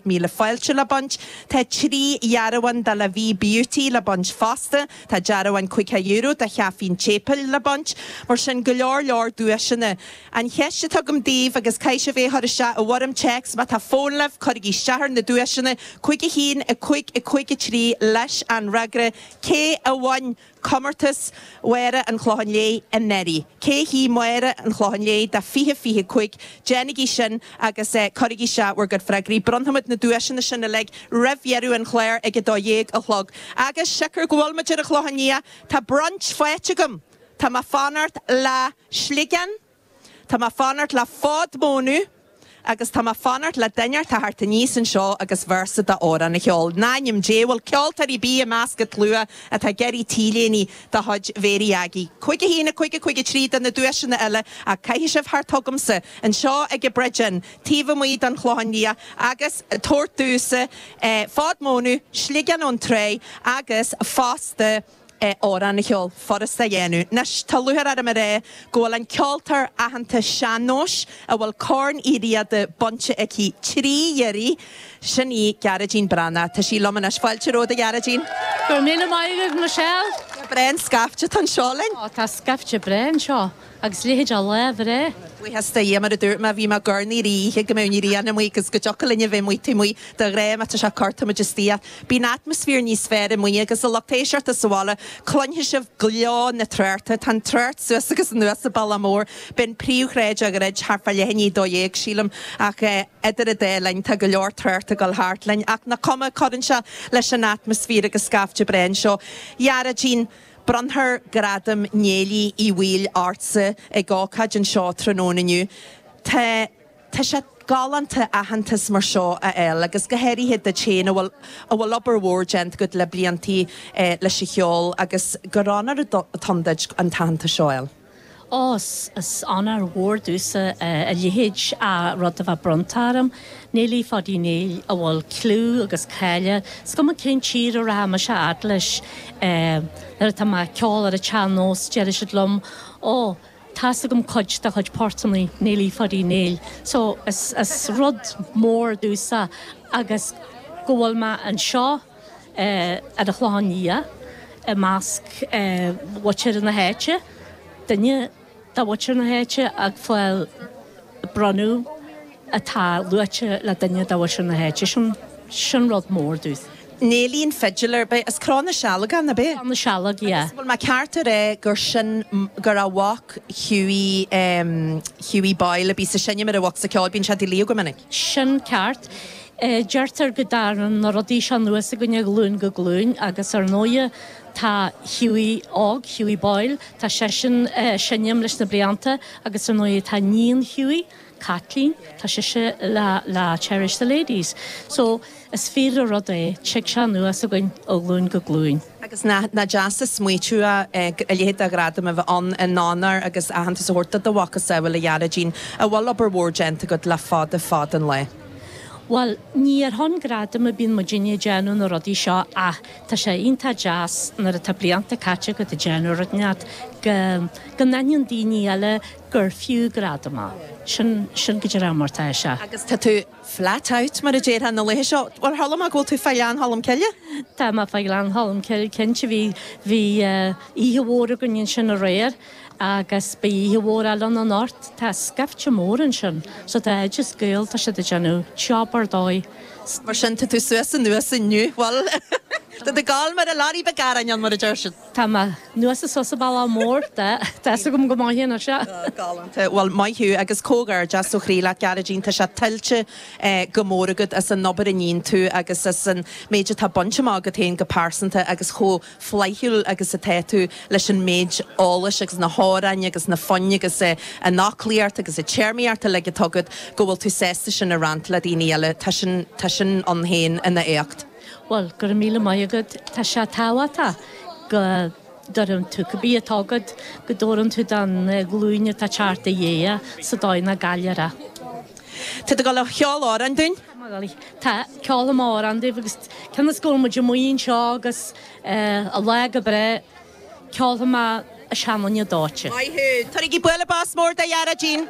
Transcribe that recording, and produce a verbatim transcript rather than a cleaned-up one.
Céad míle fáilte le baint. Tá trí dhearbhán de La Vie Beauty le baint fosta, tá dearbhán caoga euro de Chaifín Chéipil le baint, mar sin go leor leor duaiseanna. An cheist atá agam daoibh agus caithfidh sibh é a chur isteach i bhfoirm téacs má tá fón libh, cuirigí isteach ar na duaiseanna, cúig a haon, a cúig, a cúig a trí leis an fhreagra cé a bhain Comórtas Mháire an Chlocháin Léith anuraidh. Cé hí Máire an Chlocháin Léith do fiche fiche cúig? Déanaigí sin agus cuirigí isteach bhur gcuid freagraí. Bronnfaimid na duaiseanna sin uilig roimh dheireadh an chláir ag a dó dhéag a chlog. Agus siocair go bhfuil muid ar an Chlochán Liath, tá brunch faighte agam! Tá mé fanacht le sliogán, tá mé fanacht le fód mónadh, Agus tá mé fanacht le duine a theacht aníos anseo agus véarsa d'amhrán a cheol. In ainm Dé, bhfuil ceoltóir ar bith i measc an tslua atá ag iarraidh t-léine de chuid Mhéirí Aggie? Cúig a haon, a cúig, a cúig a trí do na duaiseanna eile ach caithfidh sibh theacht chugamsa anseo ag an Bridge Inn, taobh amuigh den Chlochán Liath agus tabhairt domhsa fód mónadh, sliogán ón Tráigh agus fosta, amhrán a cheol, furasta a dhéanamh. Anois, tá lúcháir orm a rá go bhfuil an ceoltóir aitheanta sean-nóis a bhfuil Corn Uí Riada bainte aici trí iarraidh, sin í Gearóidín Breathnach. Tá sí liom anois. Fáilte romhat, a Ghearóidín. Go raibh míle maith agat, Michelle. Breá an scaifte atá anseo linn. Ó, tá scaifte breá anseo. Agus leithéid de lá bhreá. Buíochas do Dhia, mar a dúirt mé, bhí mé ag urnaí ar oíche go mbeadh an ghrian amuigh agus go dtiocfadh linn a bheith amuigh taobh amuigh de ghnáth má tá sé corr tá muid istigh ach bíonn atmaisféar níos fearr amuigh agus a lucht éisteachta sa bhaile cluinfidh sibh gleo na tráchta. Tá an trácht suas agus anuas an bealach mór. B'in príomhshráid a dhruid thart fá leath i ndiaidh a dó dhéag sílim ach idir an dá linn tá go leor trácht ag dul thart linn ach nach cuma cuireann sé leis an atmaisféar agus scaifte breá anseo. Gearóidín. Bronnfar Gradam Néilí Uí Bhaoill ortsa ag ócáid anseo tráthnóna inniu. Tá tá sé galánta aitheantas mar seo a fháil agus go háirithe duit féin a bhfuil a bhfuil obair mhór déanta agat le bliantaí leis an cheol agus gur onóir atá ann duit an t-aitheantas seo a fháil. Ó, is onóir mhór domhsa a leithéid de rud a bheith bronnta orm. Néilí Pháidí Néill a bhfuil clú agus cáil, is cuma cén tír a rachaidh mise a fhad leis, nuair atá mé ag ceol ar an tsean-nós déarfaidh siad liom, Ó, tá's agam cuid de chuid portanna Néilí Pháidí Néill. So, is rud mór domhsa agus go bhfuil mé anseo ar an Chlochán Liath i measc mhuintir na háite. duine de mhuintir na háite ag fáil bronnadh atá luaite le duine de mhuintir na háite. Sin, sin rud mór domh. Néilí an fiddler, b'é, as Cró na Sealg é, ab ea? Cró na Sealg, yeah. Agus bhfuil mé ceart a rá gur sin, gur a mhac Hughie, em, Hughie Boyle a bhí ag seinm ar a bhosca ceoil, bíonn sé i do luí go minic? Sin ceart. Deirtear go dtagann na rudaí seo anuas againn ó ghlúin go glúin agus ar ndóighe tá Hughie óg, Hughie Boyle, tá seisean ag seinm leis na blianta agus ar ndóighe tá níon Hughie, Caitlín, tá sise le le Cherish the Ladies. So is fíor an rud é, tig sé anuas againn ó ghlúin go glúin. Agus nach deas an smaoitiú é a leithéid de ghradam a bheith ann in onóir agus aitheantas a thabhairt do do mhacasamhail, a Ghearóidín, a bhfuil obair mhór déanta agat le fada fada an lá. Bhuel, ní ar shon gradaim a bíonn muidinne ag déanamh na rudaí seo ach tá sé iontach deas nuair atá blianta caite agat ag déanamh rud inteacht go go n-aithníonn daoine eile gur fiú gradam é. Sin, sin go díreach mar atá sé. Agus tá tú flat out, mar a déarfá na laetha seo. Bhuel, chuala mé go bhfuil tú fá Ghleann Cholm Cille? Tá mé fá Ghleann Cholm Cille, cinnte. Bhí, bhí oíche mhór againn ansin aréir. Agus beidh oíche mhór eile ann anocht. Tá scaifte mór ansin. So tá Oideas Gael, tá siad ag déanamh job ar dóigh. Mar sin, tá tú suas anuas inniu. Bhuel, tá tú ag gabháil mar a lorry beag aráin ann, mar a deir siad. Tá mé anuas is suas an bealach mór. Tá a fhios agam go maith anois é. Galánta. Bhuel, maith thú agus comhghairdeas ó chroí leat, Gearóidín. Tá sé tuillte go mór agat as an obair a níonn tú agus as an méid atá bainte amach agat féin go pearsanta agus chomh flaithiúil agus atá tú leis an méid eolais agus na hamhráin agus na foinn agus an fhoclaíocht agus an téarmaíocht uilig atá agat go bhfuil tú sásta sin a roinnt le daoine eile. Tá sin, tá sin ann féin ina éacht. Bhuel, go raibh míle maith agat. Tá sé tábhachtach go dtabhrann tú cibé atá agat, go dtabhrann tú don ghlúin atá ag teacht i ndiaidh sa dóigh nach gcaillfear é. Tá tú ag dul a cheol amhrán dúinn? Tá, ceolfaidh mé amhrán daoibh agus cionn is go bhfuil muid amuigh anseo agus an lá go breá, ceolfaidh mé A Seanduine Dóite. Maith thú! Tabharaigí bualadh bos mór do Ghearóidín!